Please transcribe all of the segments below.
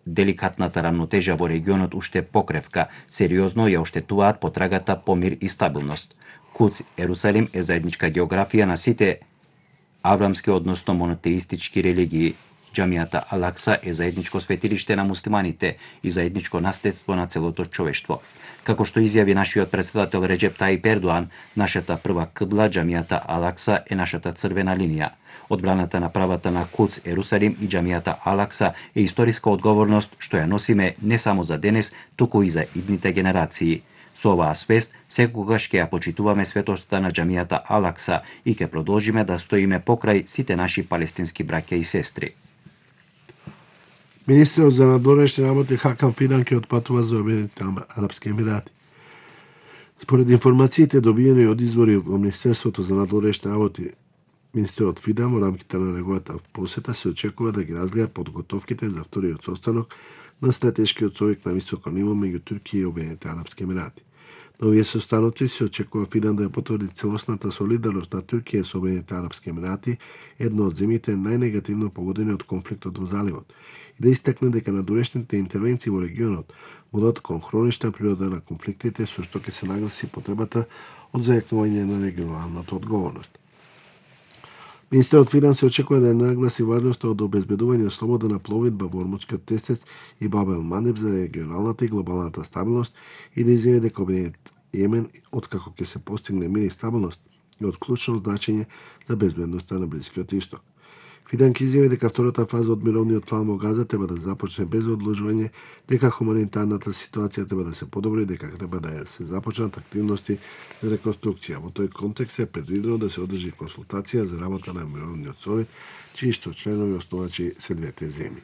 деликатната рамнотежа во регионот уште покревка, сериозно ја оштетуваат потрагата по мир и стабилност. Куц Ерусалим е заедничка географија на сите аврамски, односно монотеистички религии. Џамијата Ал-Акса е заедничко светилиште на муслиманите и заедничко наследство на целото човештво. Како што изјави нашиот претседател Реџеп Таип Ердоан, нашата прва кибла, џамијата Ал-Акса, е нашата црвена линија. Одбраната на правата на Куц Ерусалим и џамијата Ал-Акса е историска одговорност што ја носиме не само за денес, туку и за идните генерации. Со оваа свест, секогаш ќе ја почитуваме светоста на џамијата Ал-Акса и ќе продолжиме да стоиме покрај сите наши палестински браќа и сестри. Министерот за надворешни работи Хакан Фидан ќе отпатува за Обединетите Арапски Емирати. Според информациите добиени од извори во Министерството за надворешни работи, министерот Фидан во рамките на неговата посета се очекува да ги разгледа подготовките за вториот состанок на стратешкиот совет на високо ниво меѓу Турција и Обединетите Арапски Емирати. На овие состаноци се очекува Фидан да ја потврди целосната солидарност на Турција со Обединетите Арапски Емирати, едно од земјите најнегативно погодени од конфликтот во заливот, и да истакне дека надворешните интервенции во регионот водат кон хронична природа на конфликтите, со што ќе се нагласи потребата од зајакнување на регионалната одговорност. Министерот Фидан се очекува да ја нагласи важноста од обезбедување слобода на пловидба во Ормудскиот тесец и Бабел Мандеб за регионалната и глобалната стабилност и да изјави дека Обединет Јемен, откако ќе се постигне мир и стабилност, е од клучно значење за безбедноста на Блискиот Исток. Фидан ќе изјави дека втората фаза од мировниот план во Газа треба да започне без одложување, дека хуманитарната ситуација треба да се подобри, дека треба да се започнат активности за реконструкција. Во тој контекст е предвидено да се одржи консултација за работа на мировниот совет, чии што членови основачи се двете земји.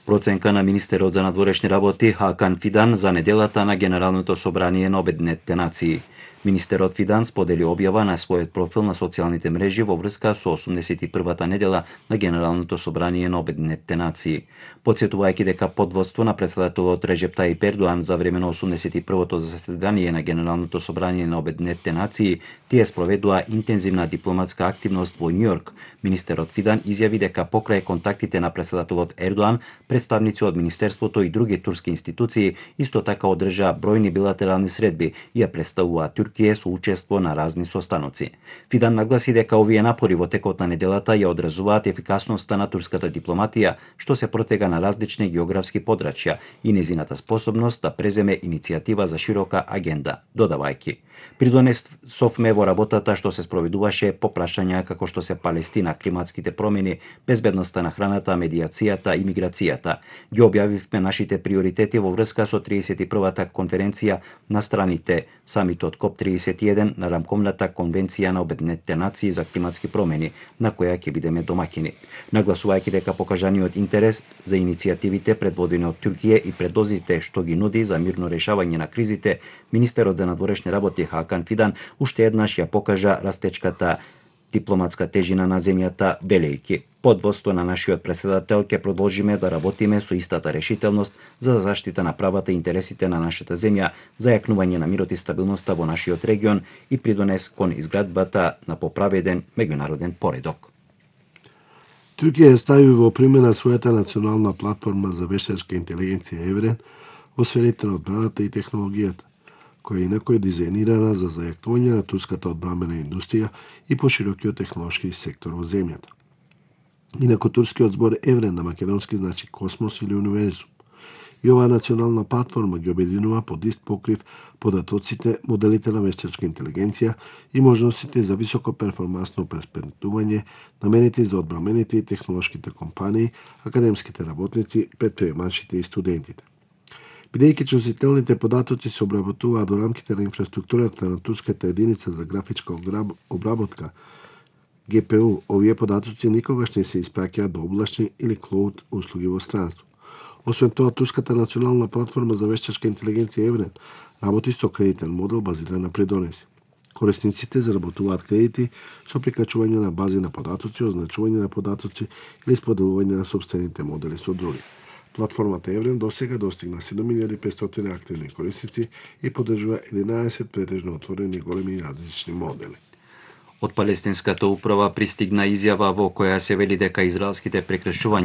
Проценка на министерот за надворешни работи Хакан Фидан за неделата на Генералното собрание на Обединетите нации. Министерот Фидан сподели објава на својот профил на социјалните мрежи во врска со 81-та недела на Генералното собрание на Обединетите нации. Потсетувајќи дека под водство на претседателот Реџеп Таип Ердоан за време на 81-то заседание на Генералното собрание на Обединетите нации, тие спроведува интензивна дипломатска активност во Њујорк. Министерот Фидан изјави дека покрај контактите на претседателот Ердоан, представници од Министерството и други турски институции исто така одржаа бројни билатерални средби и ја представуваат Турција со учество на разни состаноци. Фидан нагласи дека овие напори во текот на неделата ја одразуваат ефикасноста на турската дипломатија, што се протега на различни географски подрачја и незината способност да преземе иницијатива за широка агенда, додавајќи: придонесовме во работата што се спроведуваше по прашања како што се Палестина, климатските промени, безбедноста на храната, медиацијата и миграцијата. Ги објавивме нашите приоритети во врска со 31-та конференција на страните, самитот КОП-31 на рамковната конвенција на Обединетите нации за климатски промени, на која ќе бидеме домаќини. Нагласувајќи дека покажаниот интерес за иницијативите предводени од Турција и предозите што ги нуди за мирно решавање на кризите, министерот за надворешни работи Хакан Фидан уште еднаш ја покажа растечката дипломатска тежина на земјата, велејќи: под водство на нашиот претседател ќе продолжиме да работиме со истата решителност за заштита на правата и интересите на нашата земја, зајакнување на мирот и стабилноста во нашиот регион и придонес кон изградбата на поправеден меѓународен поредок. Турција ја стави во примена својата национална платформа за вештачка интелигенција Еврен во сферите на одбраната и технологијата, која инако е дизајнирана за зајакнување на турската одбранбена индустрија и поширокиот технолошки сектор во земјата. Инако турскиот збор Еврен на македонски значи космос или универзум. И оваа национална платформа ги обединува под ист покрив податоците, моделите на вештачка интелигенција и можностите за високо перформансно преспрентување, наменети за одбранбените и технолошките компании, академските работници, предприемачите и студентите. Бидејќи чувствителните податоци се обработуваат во рамките на инфраструктурата на турската единица за графичка обработка ГПУ, овие податоци никогаш не се испраќаат до облачни или клоуд услуги во странство. Освен тоа, турската национална платформа за вештачка интелигенција Еврен работи со кредитен модел базиран на придонеси. Корисниците заработуваат кредити со прикачување на бази на податоци, означување на податоци или споделување на собствените модели со други. Платформата Еврен досега достигна 7500 активни корисници и поддржува 11 претежно отворени големи и различни модели. Од палестинската управа пристигна изјава во која се вели дека израелските прекршувања